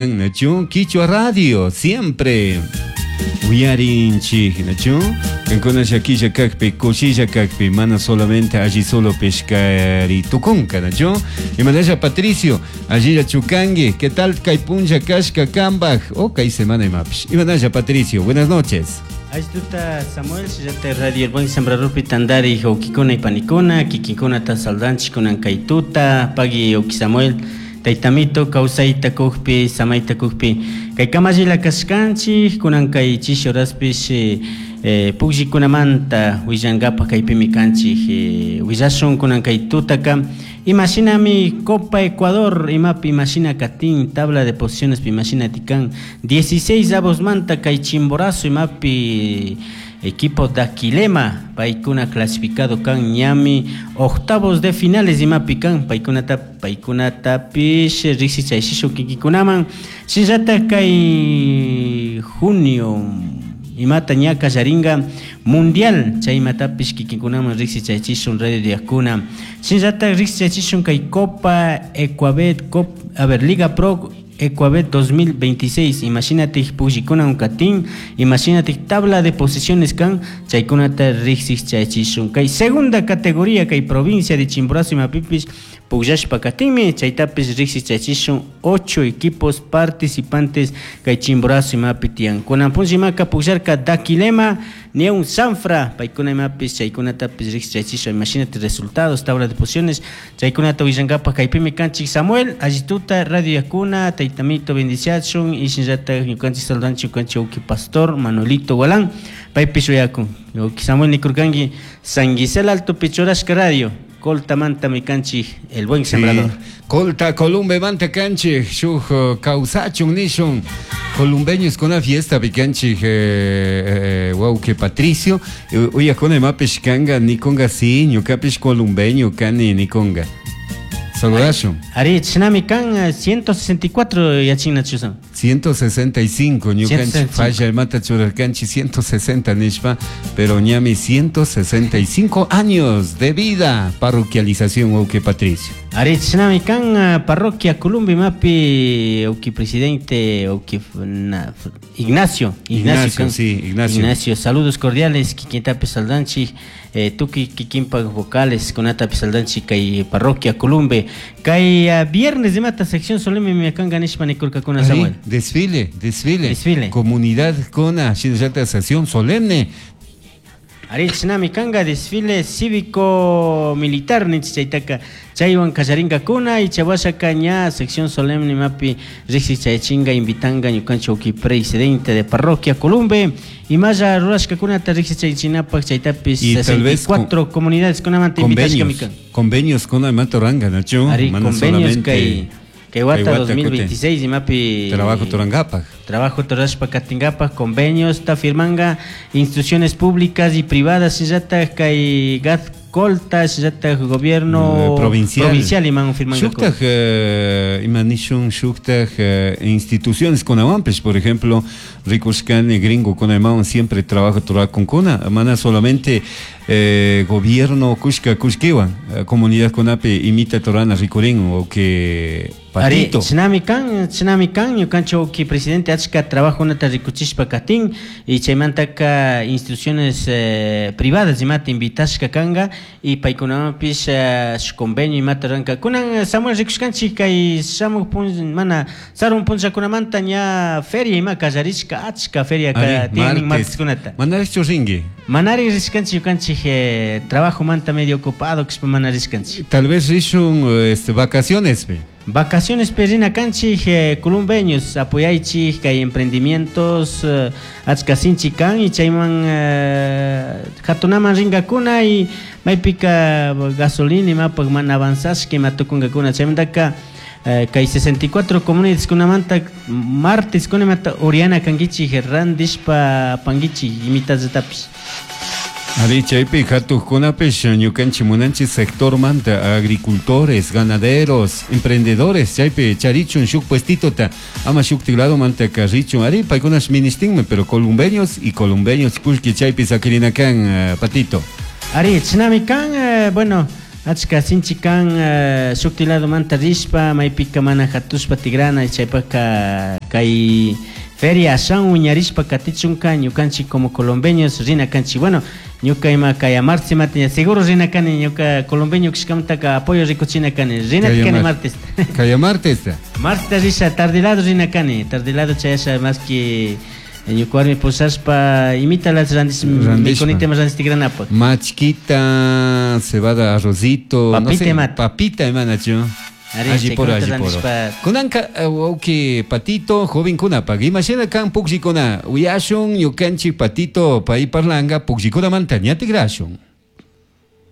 Nachu Quichua Radio siempre uyarinchik nachu kankuna llakilla kakpi kushilla kakpi mana solamente alli solo pescari tukunka nachu imanalla Patricio allilla chukangi ¿qué tal kay punlla kashka kambaj o kay semana imapish imanalla Patricio buenas noches. Ashtuta Samuel, shillata Radio El Buen Sembradorpi tandari wawkikuna y panikuna, kikinkunata saldanchik kunan kay tuta, pagui wawki Samuel, taytamito kawsayta kukpi, samayta kukpi, kay kamallila kashkanchik, kunan kay chishi horaspish pukllikunamanta willankapak kaypimi kanchik, willashun kunan kay tutaka imashinami Copa Ecuador imapi imashina katin, tabla de posiciones imashina tikan, 16 avosmanta kay Chimborazo imapi equipo Daquilema paykuna clasificado kan ñami octavos de finales imapi kan paykunata paykunatapish riksichayshishu kikikunaman shinallatak kay junio imata ña kallarinka mundial chay imatapish kikinkunaman riksichaychishun radio diakuna shinallatak riksichaychishun kay Copa Ecuabet Cop, a ver, Liga Pro Ecuabet 2026 imashinatik pukllikunan katin imashinatik tabla de posiciones kan chaykunata riksichaychishun kay segunda categoría kay provincia de Chimborazo imapipish pukllashpa katinmi chaytapish riksichaychishun 8 equipos participantes kay Chimborazo imapi tiyan kunan punlla imaka pukllarka Daquilema Neun Sanfra paykuna imapish chaykunatapish riksichaychishun imashinatik resultados tabla de posiciones chaykunata willankapak kaypimi kanchik Samuel allituta radio yakuna taytamito bendiciachun y shinallatak ñukanchik saludanchik ñukanchik wawki pastor Manuelito Gualán paypish uyakun wawki Samuel nikurkanki San Gisela Altopi churashka radio Coltamantami kanchik El Buen Sembrador. Sí. Colta Columbemanta kanchik shuk kawsachun nishun columbeños kuna fiesta pikanchik wawki Patricio uyakuna imapish kanga nikunga sí ñukapish columbeño kani nikunga saludashun. Ari chinami kan 164 yachina chusan. 165 ñukanchik falla imata churarkanchik 160 nishpa pero ñami 165 años de vida parroquialización wawki Patricio. Ari chinami kan parroquia Columbe imapi wawki presidente wawki Ignacio, Ignacio, Ignacio, sí, Ignacio. Ignacio, saludos cordiales kikintapi saldanchik tukuy kikinpak vocales kunatapi saldanchik kay parroquia Columbe kay viernes imata sección solemne miakanka nishpa nikurkakuna Samuel. Desfile, desfile. Desfile. Comunidad kona shinallata sesión solemne. Ari chinami kanga desfile cívico militar ninchik chaytaka chaywan kallarinkakuna y chawashaka ña sección solemne imapi riksichaychinga invitanga ñukanchik wawki presidente de parroquia Columbe imalla rurashkakunata riksichaychinapak chaytapis Y tal vez 64 comunidades kunamanta invitashkami kan. Convenios con imata ruranga, nachu? Ari, Mana convenios solamente kay kay wata kay wata 2026 imapi trabajo turangapak. Trabajo turashpa katingapak convenios ta firmanga instituciones públicas y privadas shillata kay gat Colta shillata gobierno provincial. provincial iman firmanga Shuktaj, imanishun shuktaj instituciones kunawanpish, por ejemplo, rikushkani gringo kunaymawan siempre trabajo turakunkuna, mana solamente gobierno kushka kushkiwan, comunidad kunapi imita torana rikurin o que Ari, patito. chinami kan, chinami kan, ñukanchik wawki presidente achka trabajo nata rikuchishpa katin y chaymantaka instituciones privadas imata invitashka kanga y paykunawanpish shuk convenio imata ruranka. Kunan Samuel rikushkanchik kay shamuk mana sarun punllakunamanta ña feria ima kallarishka achka feria Ari, ka tienen martes. marteskunata. Manarichu rinki? Manari rishkanchik ñukanchik trabajo manta medio ocupado kashpa mana rishkanchik. Tal vez rishun vacaciones pe. Vacaciones perrina kanchik columbeños apoyaychik kay emprendimientos achka sinchi kan y chayman hatunaman rinkakuna y maypika gasolina imapak mana avanzashka ima tukunkakuna chaymantaka kay 64 comunidades kunamanta martes kunamanta Oriana kankichik randishpa pankichik imitallatapish. Ari, chaypi hatuqkunapish ñukanchik munanchik sector manta agricultores, ganaderos, emprendedores, chaypi charichun shuk puestitota, ama shuk tigrado manta carrichun, ari, paykunash ministinmi, pero columbeños y columbeños kullki chaypi sakirinakan, patito. Ari, chinami kan, bueno, Achka sinchi kan shukti ladomanta rishpa maypika mana hatushpa tigrana, chaypaka kay feria ashan wiñarishpa katichunka ñukanchik como colombeños rina kanchik. Bueno, ñuka ima kaya martes imata seguro rina kani, ñuka colombeño kashkamantaka apoyo rikuchina kani, rina kani martes. Kaya martes. Martes risha tardilado rina kani, tardilado chayasha más que ñuka warmi pushashpa imita las randis mikunita ima randis tigranapak. Machquita, cebada, arrocito, papita, no sé, imata. Papita imanachu. Alli poro, alli poro. Kunanka wawki Patito, jovenkunapak imashina kan pukllikuna uyashun ñukanchik Patito pay parlanga pukllikunamanta ña tigrashun.